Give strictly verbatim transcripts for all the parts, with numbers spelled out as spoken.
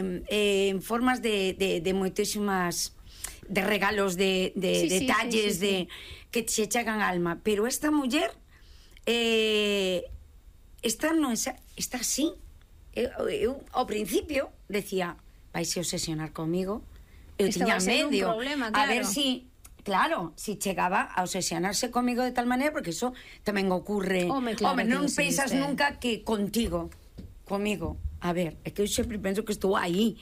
eh, eh, en formas de, de, de moitísimas de regalos, de, de Sí, sí, detalles, sí, sí, sí. de que se chegan alma, pero esta muller eh, esta non é, está así. Eu, eu ao principio decía, vaise obsesionar comigo. Eu Esto tiña va a ser un medio problema, a claro. ver si, claro, si chegaba a obsesionarse comigo de tal maneira, porque eso tamén ocurre. Home, claro Home, que non existe. pensas nunca que contigo, comigo. A ver, é que eu sempre penso que estou aí.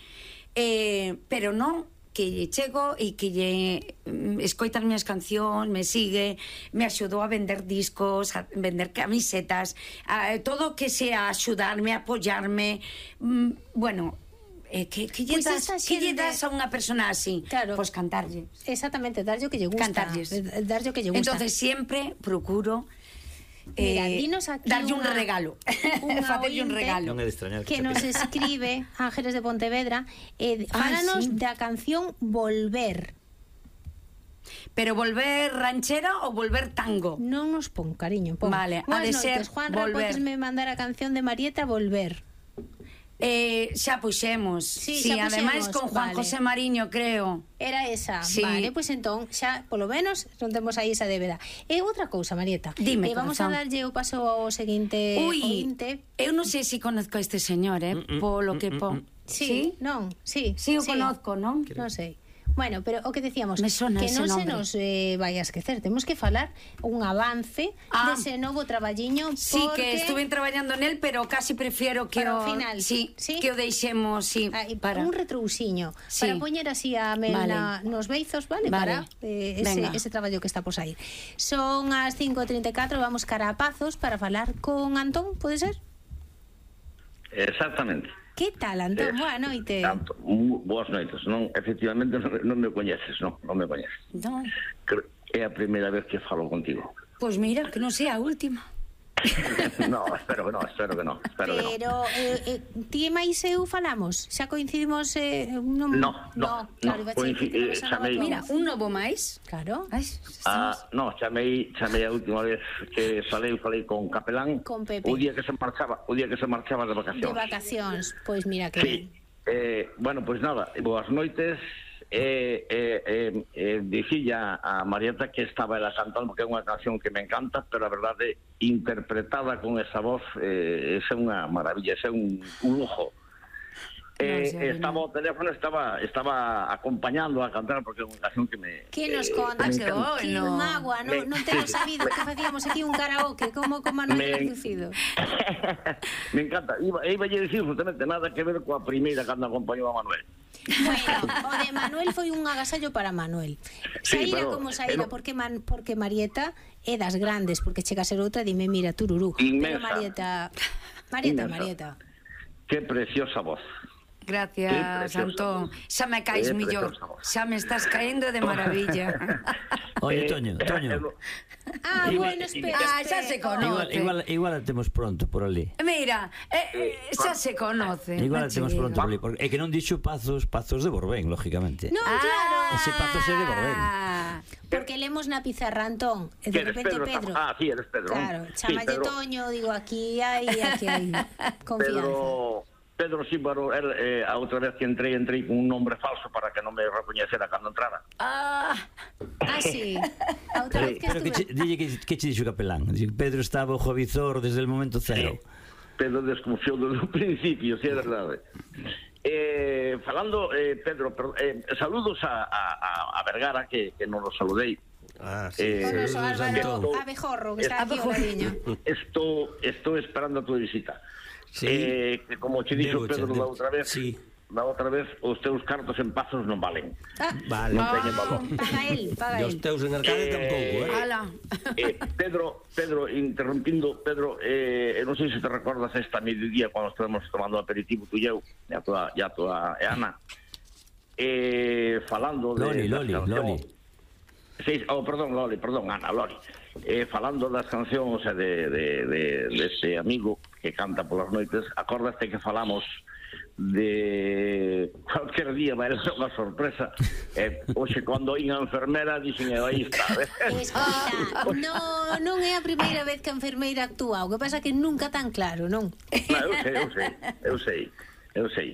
Eh, pero non, que lle chego e que lle mm, escoita as miñas cancións, me sigue, me axudou a vender discos, a vender camisetas, a, todo que sea axudarme, apoyarme, mm, bueno, eh, que, que, lle Pois das, esa que lle xente- das a unha persona así? Claro. Pois cantarlle. Exactamente, darlle o que lle gusta. Cantarlles. Darlle o que lle gusta. Entonces siempre procuro Mira, eh, dinos aquí darlle un unha- regalo. unha Facerlle un ointe regalo. Non é de extrañar que se nos pida. escribe Ángeles de Pontevedra, eh, Ah, fálanos sí. da canción Volver. Pero volver ranchera ou volver tango? Non nos pon, cariño, pon. Vale, ha Buenas de ser noites, Juanra, Volver. podes me mandar a canción de Marieta Volver. Eh, xa puxemos. Sí, sí, xa ademais puxemos, con Juan vale. José Mariño, creo. Era esa, Sí. vale, pois pues entón xa polo menos non temos aí esa débeda. E outra cousa, Marieta, Dime, eh, vamos a corazón. darlle o paso ao seguinte Ui, ointe. eu non sei se conozco a este señor, eh, Mm, mm, polo mm, que mm, pon. mm. Sí, non, sí. Sí, o conozco, non? Non sei. Bueno, pero o que decíamos, Me sona que ese non se nombre. nos eh, vai a esquecer, temos que falar un avance Ah. dese novo traballiño, Sí, porque que estuve traballando nel, pero casi prefiero que Para o o final. Sí, Sí? que o deixemos, sí, ah, e para un retrousiño Sí. para poñer así a mel Vale. na, nos beizos, vale, Vale. para eh, ese, Venga. ese traballo que está por sair. Son as cinco e trinta e catro, vamos cara a Pazos para falar con Antón, pode ser? Exactamente. Que tal, Antón? Eh, Boa noite. Tanto, mu- boas noites. Non, efectivamente non, non me coñeces, non, non me coñeces. Non. Creo- É a primeira vez que falo contigo. Pois mira, que non sea a última. No, espero que no, espero que no, espero que no. Pero eh, eh, ti e máis eu falamos, xa coincidimos eh, non, No, no, claro, no, iba a decir que coincidi- tenemos eh, a xa nova me- tua Mira, voz. un novo máis. Claro, Ai, Ah, estamos... no, chamei, chamei a última vez que falei, falei con Capelán Con Pepe. o día que se marchaba, o día que se marchaba de de vacacións. vacacións. Pois mira que Sí. ben. Eh, bueno, pois nada, boas noites. Eh, eh, eh, eh, dicilla a Marieta que estaba ela cantando, porque é unha canción que me encanta, pero a verdade, interpretada con esa voz, eh, é unha maravilla, é un, un lujo. Eh, No, sí, estaba ao teléfono, estaba estaba acompañando a cantar, porque é unha canción que me... Que nos eh, contas, me que, encanta. que bueno. un agua, non, non temos sabido que facíamos aquí un karaoke como con Manuel Me- Reducido. Me encanta. Iba, iba a decir justamente nada que ver coa primeira cando acompañou a Manuel. Bueno, o de Manuel foi un agasallo para Manuel. Sí, Saíra pero- como saíra, pero- porque man, porque Marieta é das grandes, porque chega a ser outra, dime, mira, tururú. Pero Inmensa. Marieta, Marieta, Inmensa. Marieta. Qué preciosa voz. Qué Gracias, preciosa Antón. voz. Xa me caes Qué millor. preciosa voz. Xa me estás caendo de maravilla. Oye, Eh, Toño, eh, Toño. eh, Ah, Dime, bueno, dime. espera. Ah, xa se espera. conoce. Igual, igual, igual a temos pronto por ali. Mira, eh, eh, xa se conoce. Igual a non che temos digo. pronto por ali. Porque é que non dixo Pazos, Pazos de Borbén, lógicamente. Non, claro. Ese Pazos é de Borbén. Porque lemos na pizarra, Antón, e de ¿Quién es repente Pedro? Pedro. Ah, sí, eres Pedro. Claro, Sí, chamalle Pedro. Toño, digo, aquí hai, aquí hai confianza. Pedro, Pedro Símbaro, él, eh, a outra vez que entrei, entrei con un nombre falso para que non me recoñecera cando entrara. Ah, Ah, sí. A outra vez que Pero que che, estuve... dille que, que che dixo Capelán. Dice que Pedro estaba o Jovizor desde el momento cero. Pedro desconfiou desde o principio, si é verdade. Eh, falando, eh, Pedro, per, eh, saludos a, a, a Vergara, que, que non os saludei. Ah, Eh, Con noso saludos, Álvaro Antón. Abejorro, que está aquí ao Abejorro. ladiño. Estou, estou esperando a tua visita. Sí. Eh, que como che dixo Debo, Pedro debo. da outra vez, Sí. da outra vez, os teus cartos en Pazos non valen. Ah, Vale. Non teñen valor. paga él, paga E os él. teus en Arcade Eh, tampouco, eh? ala. Eh, Pedro, Pedro, interrompindo, Pedro, eh, non sei se te recordas esta mediodía cando estábamos tomando aperitivo tú e eu, e a tua, e a tua e Ana, eh, falando de... Loli, das Loli, cancións. Loli. Sí, oh, perdón, Loli, perdón, Ana, Loli. Eh, falando das cancións e de, de, de, de ese amigo que canta polas noites, acordaste que falamos de cualquier día vai ser unha sorpresa. Eh, hoxe, cando oín a enfermera, dixen, "Eh, aí está, eh". Escoita, no, non é a primeira vez que a enfermeira actúa, o que pasa que nunca tan claro, non? No, eu sei, eu sei, eu sei, eu sei.